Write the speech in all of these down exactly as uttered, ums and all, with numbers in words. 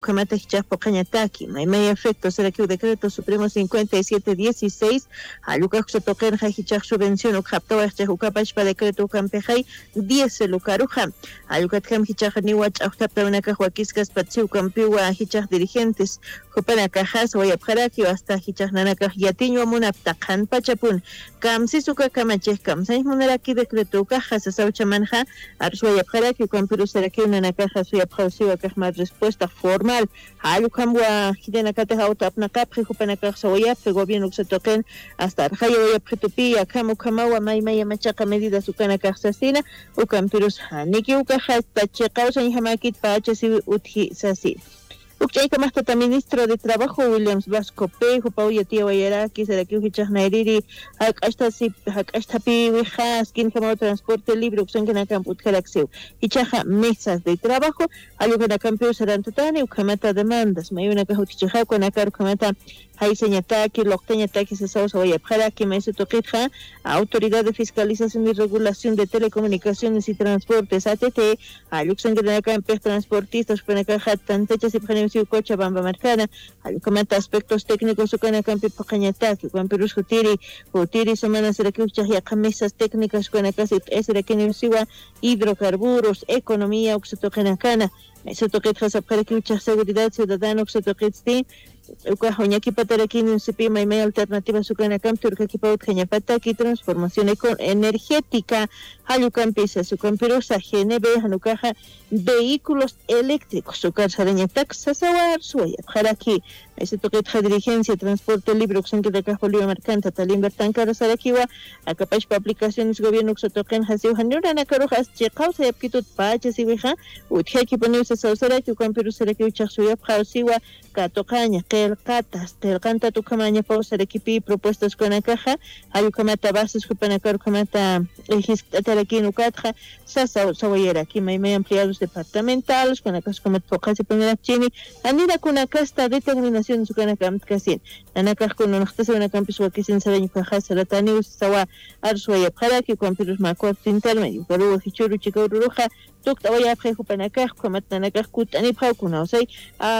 ukhamata jichhax phuqhañataki maymay efecto sarakiw decreto supremo cincuenta y siete dieciséis, jall ukax uksa tuqinxa jichhax subvención ukxaptawaxchix ukapachpa decreto ukampixay diez lukaruxa. Jall ukatjam jichhax niwa ch'axtaptawinakax wakiskaspatsi ukampiwa jichhax dirigentes jupanakaxa sawayapxarakiw hasta jichhax nanakax yatiñwa munapta qhanpachapun kamsis uka kamachix kamsañx munaraki decreto ukaxa sasawchamanxa. Arswayapxaraki ukampirusarakiw nanakaxa suyapxawsiwa kaxmar respuesta formal. Jall ukhamwa jitanakatix awto apnaqapxi jupanakax sawayapxi gobierno uksa tuqin hasta arxayawayapxitupi akham ukhamawa maymaya machaqa medidas ukanakax sasina. Ukampirus janiki ukaxa hasta chiqawsañjamakit pachasiwi utji sasina. Ukch'aykamaxtata ministro de trabajo williams vasco pejo pawya tiyawayaraki sarakiw jichhaxnayriri jak'achthapi wixa askinjamaw transporte libre uksankanakamp utjaraksiw. Jichhaxa mesas de trabajo jall ukanakampiw sarantatani ukhamata demandas mayunakax utjichixaw kanakar ukhamata jaysañataki luqtañataki sasaw sawayapxaraki maysa tuqitxa autoridad de fiscalización y regulación de telecomunicaciones y transportes att jall uksankanakampix transportistas jupanakaxa tantachasipxaniwsiw cochabamba markana. Jall ukhamata aspectos técnicos ukanakampi phuqhañataki ukampirus jutiri jutiri semana sarakiw jichhax yaqha mesas técnicas ukanakasi t'esirakiniwsiwa hidrocarburos economía uksa tuqinakana. Maysa tuqitxa sapxarakiw jichhax seguridad ciudadana uksa tuqitsti ukax uñakipatarakiniwsipi maymay alternativas ukanakampi turkakipaw utjañapataki transformación eco- energética. Jall ukampisas ukampirusa gnb jan ukaxa vehículos eléctricos ukar sarañatak sasawar suwayapxaraki. Maysa tuqitxa dirigencia transporte libre uksankanakax bolivia markanta talimbar tankara sarakiwa akapachpa aplicaciones gobierno uksa tuqinxa siw janiw nanakarux as chiqaw sayapkitut pachasiwixa utjakipuniw sasaw saraki ukampirus sarakiw jichhax suyapxaw siwa katuqaña qillqatas qillqantat ukhamañapaw sarakipi propuestas ukanakaxa. Jall ukhamata bases jupanakar ukhamata jiskt'atarakin ukatxa sasaw sawayaraki maymay ampliados departamentales ukanakas ukhamat phuqhasipunarakchini janirakunakasta determinaciones ukanakamtkasin. Nanakax kununxtasawinakampis wakisin sarañukaxa sarataniw sasawa arswayapxaraki ukampirus mä cuarto intermedio ukaruwa jichhuru chikaw ruruxa tukt'awayapxi jupanakax ukhamat nanakax kutt'anipxaw kunawsay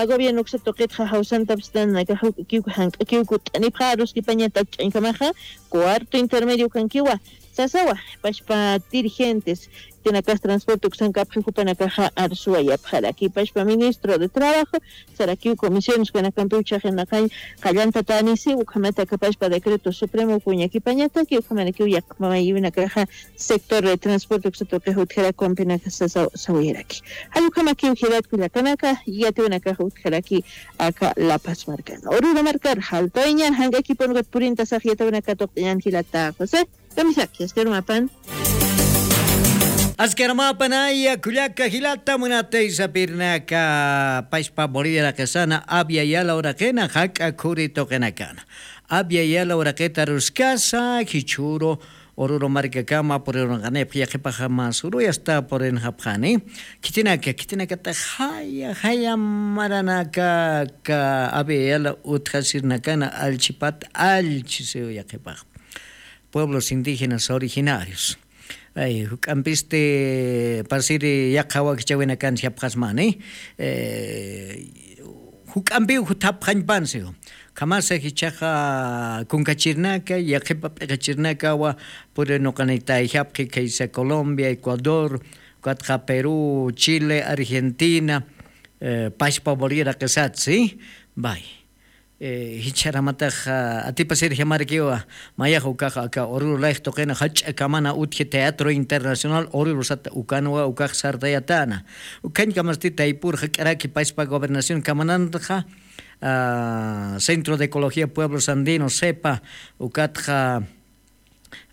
gobierno uksa tuqitxa jawsantapstan nanakax juk'akiw jank'akiw kutt'anipxa aruskipañata ukch'añkamaxa cuarto intermedio ukankiwa sasawa. Pachpa dirigentes tinakas transporte uksankapxi jupanakaxa arsuwayapxaraki pachpa ministro de trabajo sarakiw comisiones ukanakampiw chhaxinaqañ qallantatanisiw ukhamata akapachpa decreto supremo uka uñakipañataki ukhamarakiw yaqha mamayuwinakaxa sector de transporte uksa tuqix utjarakumpinaka sawayaraki. Jall ukhamakiw jilat kullakanaka yatiwinakax utjaraki aka lapas markana ururu markar jaltawiñan jank'akipun ukat purintasax yatawinaka tuqt'añan jilata josé. Kamisaki askarumapan. Askarumapan aya kullaka jilata munatay sapirnaka pachpa bolivia raqisana avia yala uraqina jak'a khuri tuqinakana avia yala uraqita ruskasa jichhuru ururu markakama purirunqanipx yaqhipaxa mas uruy asta purinxapxani. Khitinaka khitinakata jaya jaya maranaka ka avia yala utjasirnakana allchipat allchisiw yaqhipax pueblos indígenas originarios. Juk'ampisti pasiri yaqha wakichawinakan japxasmani juk'ampiw jutapxañpansiw. Khamasa jichhaxa kunkachirnaka yaqhipa p'iqichirnakawa puri nuqanitay japxi khaysa colombia ecuador ukatxa perú chile argentina pachpa bolivia raqisatsi. Bay jichharamatax atipasir jamarakiwa mayax ukax aka ururu layx tuqina jach'a kamana utji teatro internacional ururu sata ukanwa ukax sartayatana. Ukhañkamasti taypur jak'araki pachpa gobernación kamanantaxa centro de ecología pueblos andinos sepa ukatxa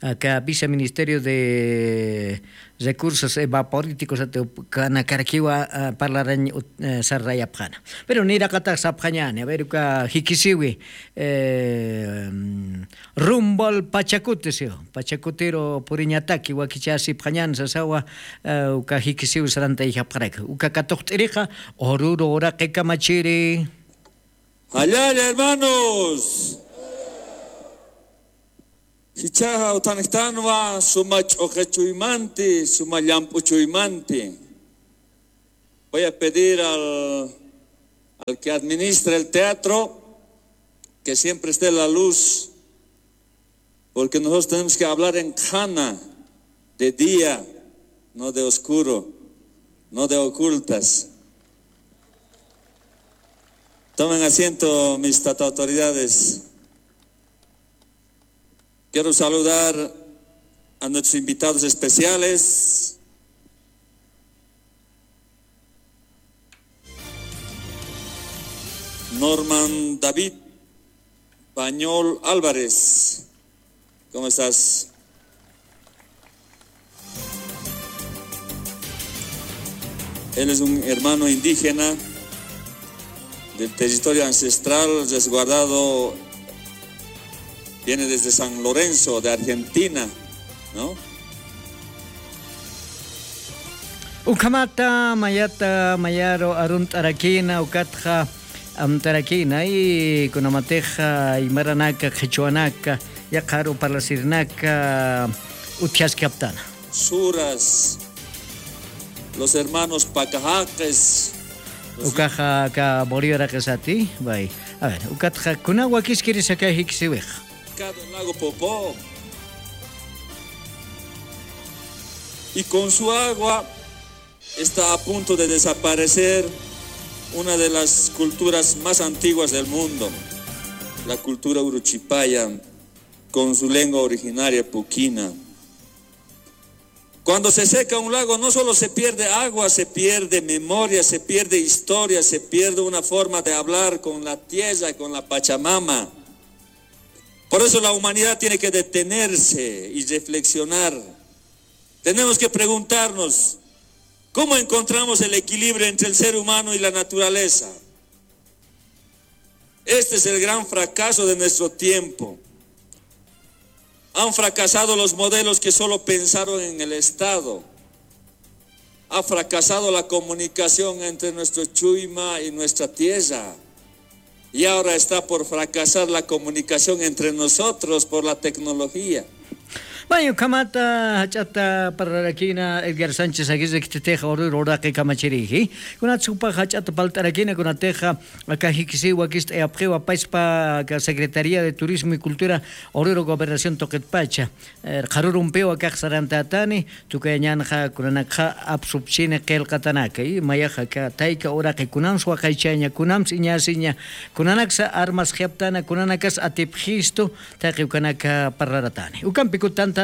aka viceministerio de recursos evaporíticos ati ukanakarakiwa parlarañ sarrayapxana. Pero niraqatax sapxañani aver uka jikisiwi rumbol pachakuti siw pachakutiru puriñataki wakichasipxañan sasawa. Uka jikisiwi sarantayjapxaraki uka katuqt'iriqa ururu uraqi kamachiri. Jallalla hermanos. Jichhaxa uthanjtanwa suma ch'uqi chuymanti suma llamp'u chuymanti. Voy a pedir al al que administra el teatro, que siempre esté la luz, porque nosotros tenemos que hablar en Qhana, de día, no de oscuro, no de ocultas. Tomen asiento, mis tata autoridades. Quiero saludar a nuestros invitados especiales. Norman David Pañol Álvarez, ¿cómo estás? Él es un hermano indígena del territorio ancestral resguardado, viene desde San Lorenzo de Argentina, ¿no? Ukhamata mayata mayaru arunt'arakïna ukatxa amtarakïna, y kunamatixa aymaranaka qhichwanaka yaqharu parlasirinaka utjaskaptana. Suras, los hermanos Pacajaqis, los... Ukaxa aka Bolivaraqisati, bay. A ver, ukatxa kuna wakiskirisa aka jikisiwixa. Lago Popó. Y con su agua está a punto de desaparecer una de las culturas más antiguas del mundo, la cultura uruchipaya, con su lengua originaria puquina. Cuando se seca un lago, no solo se pierde agua, se pierde memoria, se pierde historia, se pierde una forma de hablar con la tierra, con la Pachamama. Por eso la humanidad tiene que detenerse y reflexionar. Tenemos que preguntarnos, ¿cómo encontramos el equilibrio entre el ser humano y la naturaleza? Este es el gran fracaso de nuestro tiempo. Han fracasado los modelos que solo pensaron en el Estado. Ha fracasado la comunicación entre nuestro Chuyma y nuestra tierra. Y ahora está por fracasar la comunicación entre nosotros por la tecnología. May, ukhamata jach'ata parlarakïna Edgar Sánchez Aguirre, khitinxa ururu uraqi kamachirïji. Kunatsa jupax jach'ata parlt'arakïna, kunatixa aka jikisiw wakist'ayapxiwa, paspa aka Secretaría de Turismo y Cultura ururu Gobernación tuqitpacha. Eh, qharürumpiw akax sarantätani, tukuyañänxa kunanakxa apsupchini qillqatanaka, y mayax aka tayka uraqi kunams waqaychaña, kunams iñäsiña, kunanaksa armasxaptana, kunanakas atipxistu, taqi ukanaka parlaratani. Ukampi kutanta.